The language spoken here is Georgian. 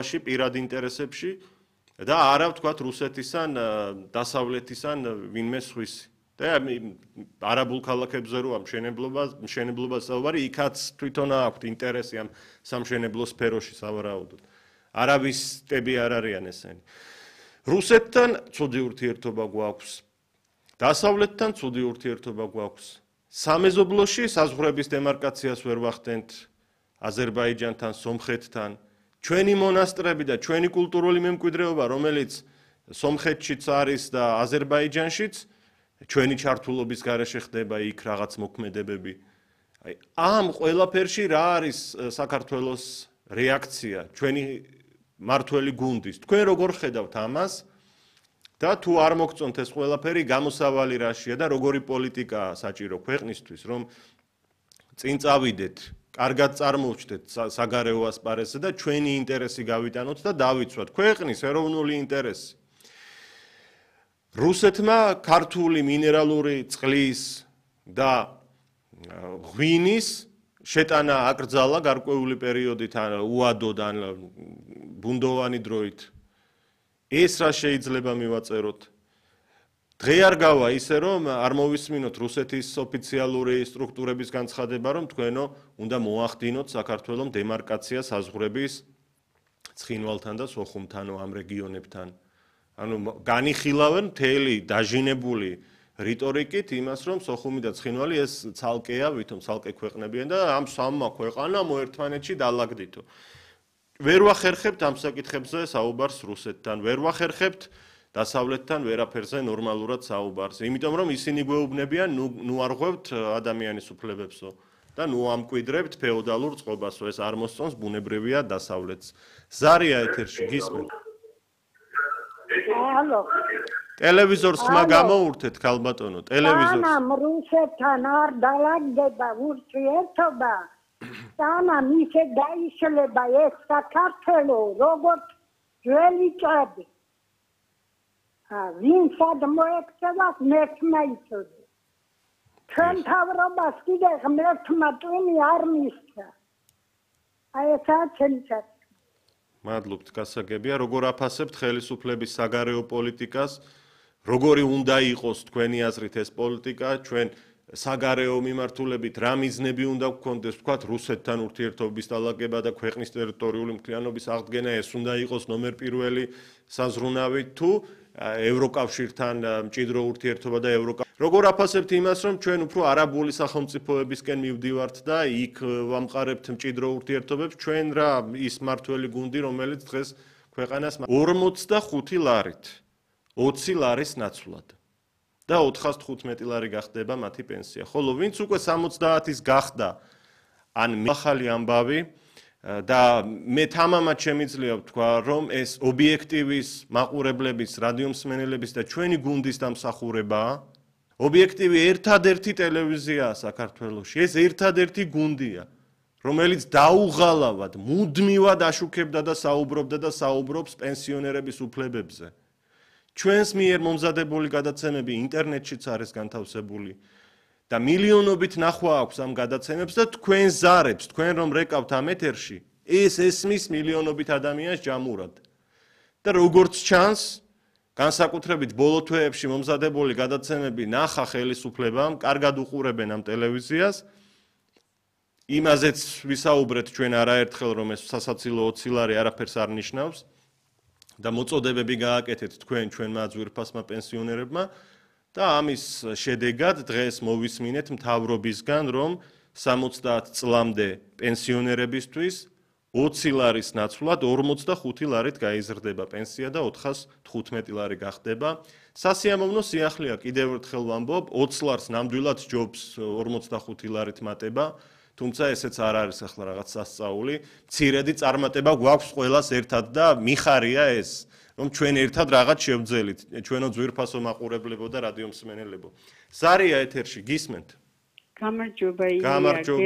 პირად ინტერესებში და არა ვთქვათ რუსეთისან დასავლეთისან ვინმე სხვისი. და არაბულ ქალაქებზე რო მშენებლობას საუბარი, იქაც თვითონ აქვთ ინტერესი ამ სამშენებლო სფეროში სავარაუდოდ. არაბისტები არ არიან ესენი. რუსეთთან ცუდი ურთიერთობა გვაქვს. დასავლეთთან ცუდი ურთიერთობა გვაქვს. სამეზობლოში საზღვრების დემარკაციას ვერ ვახდენთ აზერბაიჯანთან, სომხეთთან. ჩვენი მონასტრები და ჩვენი კულტურული მემკვიდრეობა, რომელიც სომხეთშიც არის და აზერბაიჯანშიც, ჩვენი ჩართულობის გარეშე ხდება იქ რაღაც მოქმედებები. ამ ყველაფერში რა არის საქართველოს რეაქცია, ჩვენი მართველი გუნდის. თქვენ როგორ ხედავთ ამას და თუ არ მოგწონთ ეს ყველაფერი, გამოსავალი რაშია და როგორი პოლიტიკაა საჭირო ქვეყნისთვის, რომ წინ წავიდეთ, კარგად წარმოვჩდეთ საგარეო ასპარეზზე და ჩვენი ინტერესი გავიტანოთ და დავიცვათ ქვეყნის ეროვნული ინტერესი. რუსეთმა ქართული მინერალური წყლის და ღვინის შეტანა აკრძალა გარკვეული პერიოდით ან უადოდ ან ბუნდოვანი დროით. ეს რა შეიძლება მივაწეროთ? დღე არ გავა ისე რომ არ მოვისმინოთ რუსეთის ოფიციალური სტრუქტურების განცხადება, რომ თქვენო უნდა მოახდინოთ საქართველოს დემარკაცია საზღვრების ცხინვალთან და სოხუმთან ამ რეგიონებთან. ანუ განიხილავენ მთელი დაჟინებული რიტორიკით იმას, რომ სოხუმი და ცხინვალი ეს ცალკეა, ვითომ ცალკე ქვეყნებიან და ამ სამმა ქვეყანამ ერთმანეთში დაალაგდითო. ვერ ვახერხებთ ამ საკითხებზე საუბარს რუსეთთან, ვერ ვახერხებთ დასავლეთთან ვერაფერზე ნორმალურად საუბარს, იმიტომ რომ ისინი გვეუბნებიან, ნუ არ ღვევთ ადამიანის უფლებებსო და ნუ ამკვიდრებთ ფეოდალურ წყობასო, ეს არ მოსწონს, ბუნებრივია დასავლეთს. ზარია ეთერში გისმენთ? ალო. ტელევიზორს ხმა გამოურთეთ, ქალბატონო, ტელევიზორს. სანამ რუსეთთან არ დაალაგდება ურთიერთობა, სანამ ისე დაიშლება ეს საქართველო, როგორც ძველი ჭადი. ვინცად მოექცევა ღმერთმა იცოდა. ჩვენ თავრობას კიდე ღმერთმა ტვინი არ მისცა. აი ესაა ჩემი საქმე. მადლობთ, გასაგებია, როგორ აფასებთ ხელისუფლების საგარეო პოლიტიკას, როგორი უნდა იყოს თქვენი აზრით ეს პოლიტიკა, ჩვენ საგარეო მიმართულებით რა მიზნები უნდა გქონდეს, ვთქვათ, რუსეთთან ურთიერთობის დალაგება და ქვეყნის ტერიტორიული მთლიანობის აღდგენა, ეს უნდა იყოს ნომერ პირველი საზრუნავი თუ ევროკავშირთან მჭიდრო ურთიერთობა და როგორ აფასებთ იმას, რომ ჩვენ უფრო არაბული სახელმწიფოებისკენ მივდივართ და იქ ვამყარებთ მჭიდრო ურთიერთობებს, ჩვენ რა ის მართველი გუნდი, რომელიც დღეს ქვეყანას 45 ლარით 20 ლარის ნაცვლად და 415 ლარი გახდება მათი პენსია. ხოლო ვინც უკვე 70-ის გახდა, ან ახალი ამბავი და მე თამამად შემიძლია ვთქვა, რომ ეს ობიექტივის მაყურებლების, რადიომსმენელების და ჩვენი გუნდის დამსახურებაა. ობიექტივი ერთადერთი ტელევიზიაა საქართველოში, ეს ერთადერთი გუნდია, რომელიც დაუღალავად, მუდმივად აშუქებდა და საუბრობდა და საუბრობს პენსიონერების უფლებებზე. ჩვენს მიერ მომზადებული გადაცემები ინტერნეტშიც არის განთავსებული და მილიონობით ნახვა აქვს ამ გადაცემებს და თქვენ ზარებს, თქვენ რომ რეკავთ ამ ეთერში, ეს ესმის მილიონობით ადამიანს ჯამურად. და როგორც ჩანს, განსაკუთრებით ბოლო თვეებში მომზადებული გადაცემები ნახა ხელისუფლებამ, კარგად უყურებენ ამ ტელევიზიას. იმაზეც ვისაუბრეთ ჩვენ არაერთხელ, რომ ეს სასაცილო 20 ლარი არაფერს არ ნიშნავს და მოწოდებები გააკეთეთ თქვენ ჩვენმა ძვირფასმა პენსიონერებმა და ამის შედეგად დღეს მოვისმინეთ მთავრობისგან, რომ 70 წლამდე პენსიონერებისთვის 20 ლარის ნაცვლად 45 ლარით გაიზრდება პენსია და 415 ლარი გახდება. სასიამოვნო სიახლეა, კიდევ ერთხელ ვამბობ, 20 ლარს ნამდვილად ჯობს 45 ლარით მატება, თუმცა ესეც არ არის ახლა რაღაც სასწაული. მცირედი წარმატება გვაქვს ყველას ერთად და მიხარია ეს, რომ ჩვენ ერთად რაღაც შევძელით, ჩვენო ძვირფასო მაყურებლებო და რადიომსმენელებო. ზარია ეთერში, გისმენთ? გამარჯობა.